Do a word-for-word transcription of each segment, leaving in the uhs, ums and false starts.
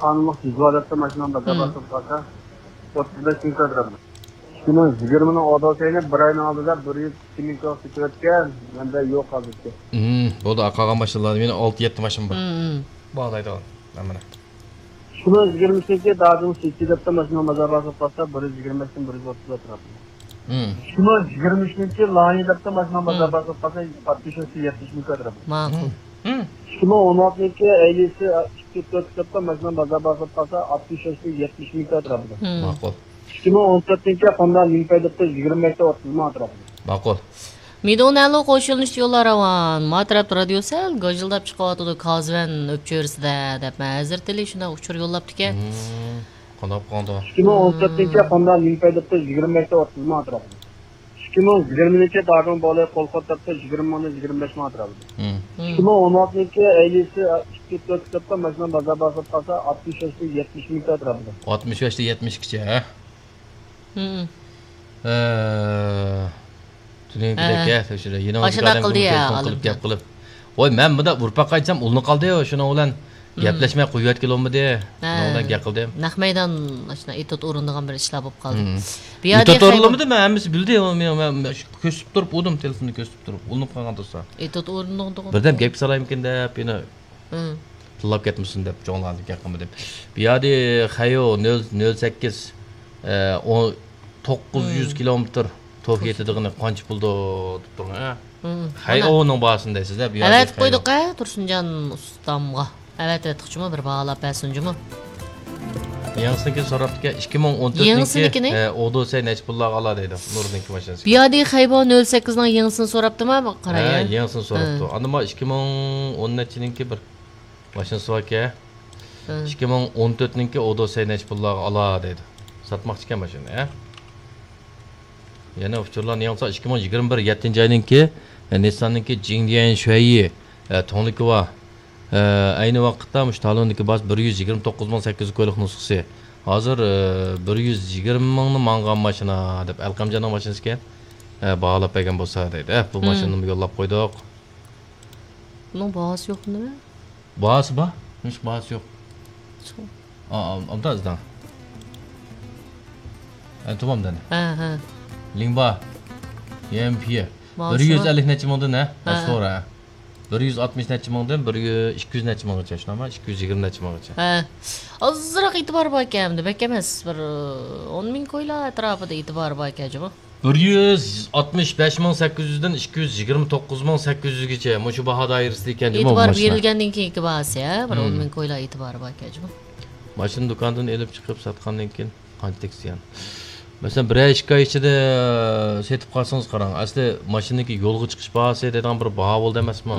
خانىملىق جىزۋا دەپتۇ، ماشىنام بازار باسىپ قالسا، ئوتتۇز بەش مىڭ كۆتۈرەمدۇ. ئىككى مىڭ يىگىرمىنىڭ ئودوسەينى بىر ئاينىڭ ئالدىدا بىر يۈز ئىككى مىڭ كۆتۈرۈۋەتكەن، مەندە يوق ھازىرچە. بولدى، قالغان ماشىنىلارنى مېنىڭ ئالتە يەتتە ماشىنام بار. باھالايدىغان. مانا. ئىككى مىڭ يىگىرمە ئۈچىنچى دادىڭ سىتى دەپتۇ، ماشىنا بازار باسىپ قالسا، بىر يۈز يىگىرمە بەشتىن بىر يۈز ئوتتۇز ئەتراپىدا. ئىككى مىڭ يىگىرمە ئۈچىنچى لايىنى دەپتۇ، ماشىنا بازار باسىپ قالسا، ئاتمىش بەشتىن يەتمىش مىڭ ئەتراپىدا. ماقۇل. ئىككى مىڭ ئون ئالتىنچى ئەيلىسى ئىككى تۆت دەپتۇ، ماشىنا بازار باسىپ قالسا، ئاتمىش بەشتىن يەتمىش مىڭ ئەتراپىدا. ماقۇل. ئىككى مىڭ ئون تۆتىنچى خوندا نىڭپەي دەپتۇ، يىگىرمە بەشتىن ئوتتۇز مىڭ ئەتراپىدا. ماقۇل. مىدۇڭ نەلۇ قوشۇلۇش يولى راۋان. ما تەرەپتە رادىيو سەل گاژىلداپ چىقىۋاتىدۇ، كازۋەن ئۆپچۆرىسىدە، دەپ مەن ھەزرىتىلى شۇنداق ئۇچۇر يوللاپتىكەن. قانداق قىلغاندا؟ ئىككى مىڭ ئون تۆتىنچى خوندا نىڭپەي دەپتۇ، يىگىرمە بەشتىن ئوتتۇز مىڭ ئەتراپىدا. ئىككى مىڭ يىگىرمىنىڭ دادىڭ بولى قول قوتۇرتى يىگىرمە مىڭدىن يىگىرمە بەش مىڭ ئەتراپىدا. ئىككى مىڭ ئون ئالتىنىڭ ئەيلىسى ئىككى تۆت دەپتۇ، ماشىنا بازار باسىپ قالسا، ئاتمىش بەشتىن يەتمىش مىڭ ئەتراپىدا. ئاتمىش بەشتىن يەتمىش ئىككىچە، ھە؟ ھە. تۈنۈگۈنكىدەك، ھە، تەكشۈرە. يېنىڭىزدىكى ئاشۇنداق ئادەم قىلدى يا، تېلېفون قىلىپ، ئالىم. گەپ قىلىپ. ۋاي، مەن مۇنداق ئۇرۇپ باققايچام، ئۇلىنىپ قالدى، شۇنىڭ بىلەن گەپلەشمەي قويۇۋەتكىلى بولمىدى. شۇنىڭ بىلەن گەپ قىلدىم. نەق مەيدان، ئاشۇنداق ئېتوت ئورۇندىغان بىر ئىشلار بولۇپ قالدى. ئېتوت ئورۇندىمىدى، مەن ھەممىسى بىلدى. مەن، مەن، مەن كۆرسىتىپ تۇرۇپ ئۇردۇم، تېلېفوننى كۆرسىتىپ تۇرۇپ. ئۇلىنىپ قالغان تۇرسا. ئېتوت ئورۇندىغان. بىردەم گەپكە سالايمىكىن دەپ، يەنە تىللاپ كەتمىسۇن دەپ چوڭلاردىن گەپ قىلمىدىم. بۇ يەردە خەيو نۆل، نۆل سەككىز، ئە، ئون، توققۇز يۈز كىلومېتىر توك يېتىدىغىنى قانچە پۇلدۇ دەپ تۇرۇڭ، ھە؟ خەيئونىڭ باھاسىنى دەيسىز-دە، بۇ يەردە ئەۋەتىپ قويدۇق، ھە، تۇرسۇنجان ئۇستامغا. ئەۋەتىۋەتتۇقچىمۇ، بىر باھالاپ بەرسۇنچىمۇ. يېڭىسىنىڭكىنى سوراپتىكەن، ئىككى مىڭ ئون تۆتىنىڭكى، يېڭىسىنىڭكىنى؟ ھە، ئودوسەي نەچچە پۇللارغا ئالا دەيدۇ، نۇرنىڭكى ماشىنىسى. بۇ يەردە خەيبا نۆل سەككىزنىڭ يېڭىسىنى سوراپتىما، قاراي. ھە، يېڭىسىنى سوراپتۇ. ئاندىن ما ئىككى مىڭ ئون نەچچىنىڭكى بىر ماشىنىسى باركەن. ئىككى مىڭ ئون تۆتنىڭكى ئودوسەي نەچچە پۇللارغا ئالا دەيدۇ. ساتماقچىكەن ماشىنىنى، ھە؟ يەنە ئۇچۇرلارنى ياڭسا، ئىككى مىڭ يىگىرمە بىر يەتتىنچى ئاينىڭكى، ئە، نىسساننىڭكى جىڭديەن شۈەييى، ئە، توڭلۇكى بار. ئە، ئەينى ۋاقىتتا مۇشۇ تالوندىكى باھاسى بىر يۈز يىگىرمە توققۇز مىڭ سەككىز يۈز كويلۇق نۇسخىسى. ھازىر، ئە، بىر يۈز يىگىرمە مىڭنى ماڭغان ماشىنا دەپ ئەلقەمجاننىڭ ماشىنىسىكەن. ئە، باھالاپ بەرگەن بولسا دەيدۇ. ئە، بۇ ماشىنىنىمۇ يوللاپ قويدۇق. بۇنىڭ باھاسى يوقمۇ نېمە؟ باھاسى بار، نېمىشقا باھاسى يوق؟ ئا، ئا، ئابدا ئىزدەڭ. ئە، تامام دەنە. ھە، ھە. لىڭبا. يەنپيې. بىر يۈز ئەللىك نەچچە مىڭدىن، ھە؟ ھە، سورا. بىر يۈز ئاتمىش نەچچە مىڭدىن بىر يۈز، ئىككى يۈز نەچچە مىڭغىچە، شۇنداقمۇ؟ ئىككى يۈز يىگىرمە نەچچە مىڭغىچە. ھە. ئازراق ئېتىبار باركەن ئەمدى، بەك ئەمەس. بىر ئون مىڭ كويلار ئەتراپىدا ئېتىبار باركەن جۇمۇ. بىر يۈز ئاتمىش بەش مىڭ سەككىز يۈزدىن ئىككى يۈز يىگىرمە توققۇز مىڭ سەككىز يۈزگىچە مۇشۇ باھا دائىرىسىدە ئىكەن جۇمۇ بۇ ماشىنا. ئېتىبار بېرىلگەندىن كېيىنكى باھاسى، ھە، بىر ئون مىڭ كويلار ئېتىبارى باركەن جۇمۇ. ماشىنا دۇكاندىن ئېلىپ چىقىپ ساتقاندىن كېيىن قانچىلىك زىيان؟ مەسىلەن، بىرەر ئىككى ئاي ئىچىدە سېتىپ قالسىڭىز قاراڭ، ئەسلى ماشىنىنىڭكى يولغا چىقىش باھاسى دەيدىغان بىر باھا بولدى ئەمەسمۇ؟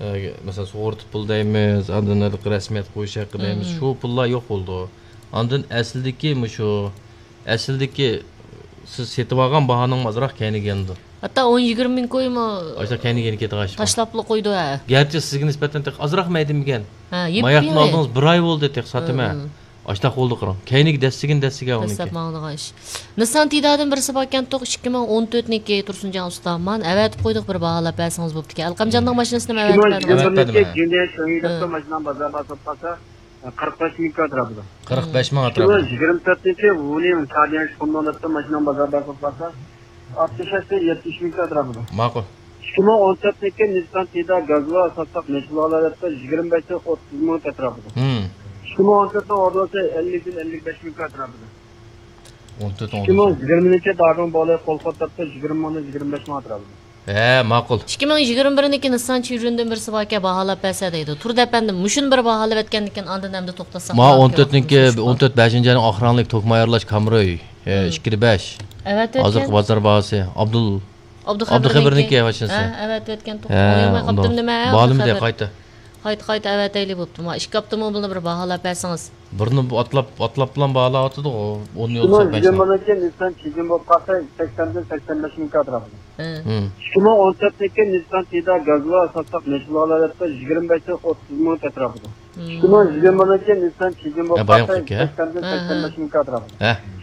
ئە، مەسىلەن، سۇغۇرتا پۇل دەيمىز، ئاندىن ھېلىقى رەسمىيەت قويۇش ھەققى دەيمىز، شۇ پۇللار يوق بولىدۇ. ئاندىن ئەسلىدىكى مۇشۇ، ئەسلىدىكى سىز سېتىۋالغان باھانىڭمۇ ئازراق كەينىگە يېنىدۇ. ھەتتا ئون يىگىرمە مىڭ كويمۇ ئاشۇنداق كەينىگە يېنىپ كەتكەن ئىش بار. تاشلاپلا قويدى، ھە. گەرچە سىزگە نىسبەتەن تېخى ئازراق مەيدىمىكەن. ھە، يېپىپ ماياقنى ئالدىڭىز، بىر ئاي بولدى تېخى ساتىمەن. ئاشۇنداق بولدى قاراڭ. كەينىگە دەسسىگىن دەسسىگەن ئۇنىڭكى. دەسسەپ ماڭىدىغان ئىش. نىسسان تىدادىن بىرسى باركەنتۇق، ئىككى مىڭ ئون تۆتنىڭكى تۇرسۇنجان ئۇستا. مانا ئەۋەتىپ قويدۇق، بىر باھالاپ بەرسىڭىز بوپتىكەن. ئەلقەمجاننىڭ ماشىنىسىنى ئەۋەتىپ بەردىڭىز. ئىككى مىڭ يىگىرمە بىرىنچى جۈندە شېڭيى دەپتۇ، ماشىنام بازار باسىپ قالسا، قىرىق بەش مىڭ كوي ئەتراپىدا. قىرىق بەش مىڭ ئەتراپىدا. ئىككى مىڭ يىگىرمە تۆتىنچى ۋۇنىڭ چاديەن شۇندۇڭ دەپتۇ، ماشىنام بازار باسىپ قالسا، ئاتمىش بەشتىن يەتمىش مىڭ كوي ئەتراپىدا. ماقۇل. ئىككى مىڭ ئون تۆتىنچى نىسسان تىدا گازۋا ساتساق نەچچە بولالايدۇ دەپتۇ، يىگىرمە بەشتىن ئوتتۇز مىڭ ئەتراپىدا. ئىككى مىڭ ئون تۆتنىڭ ئوردىسى ئەللىكتىن ئەللىك بەش مىڭ كوي ئەتراپىدا. ئون تۆت، ئون بەش. ئىككى مىڭ يىگىرمىنىڭكى دادىڭ بولى قول قوتۇرتى يىگىرمە مىڭدىن يىگىرمە بەش مىڭ ئەتراپىدا. ھە، ماقۇل. ئىككى مىڭ يىگىرمە بىرنىڭكى نىسسان چىۋرىندىن بىرسى باركەن، باھالاپ بەرسە دەيدۇ. تۇردى ئەپەندىم، مۇشۇنى بىر باھالاپ ئەتكەندىكىن ئاندىن ئەمدى توختاتساق. ما ئون تۆتنىڭكى، ئون تۆت بەشىنچى ئاينىڭ ئاخىرىڭلىق توكمۇ ئايرىلاش كامرۇي، ئىككىدە بەش. ھازىرقى بازار باھاسى. ئابدۇل، ئابدۇخېبىرنىڭكى ماشىنىسى. ھە، ئەۋەتىۋەتكەن توك. ھە، ئوينىماي قاپتىمۇ نېمە؟ بالىمدى قايتا. قايتا، قايتا ئەۋەتەيلى بوپتۇ. ما ئىككى ھەپتە مۇ بۇنى بىر باھالاپ بەرسىڭىز. بىرنى بۇ ئاتلاپ، ئاتلاپ بىلەن باھالاۋاتىدۇ، ئون يول سەكسەن بەش. ئىككى مىڭ يىگىرمىنىڭكى نىسسان چىجىن بولۇپ قالسا، سەكسەندىن سەكسەن بەش مىڭ كوي ئەتراپىدا. ھە. ئىككى مىڭ ئون تۆتنىڭكى نىسسان تىدا گازۋا ساتساق نەچچە بولالايدۇ دەپتۇ، يىگىرمە بەشتىن ئوتتۇز مىڭ كوي ئەتراپىدا. ئىككى مىڭ يىگىرمە بىرىنچى نىسسان چىجىن بولۇپ قالسا، سەكسەندىن سەكسەن بەش مىڭ كوي ئەتراپىدا.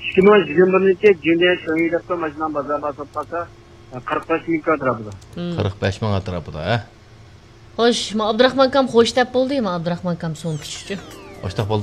ئىككى مىڭ يىگىرمە بىرىنچى جۈندە شېڭيى دەپتۇ، ماشىنام بازار باسىپ قالسا، قىرىق بەش مىڭ كوي ئەتراپىدا. قىرىق بەش مىڭ ئەتراپىدا، ھە؟ خوش، ما ئابدۇراخمان ئاكام خوش دەپ بولدى، ما ئابدۇراخمان ئاكام سوڭ كۈتۈشتى. ئاشتاق بولدى.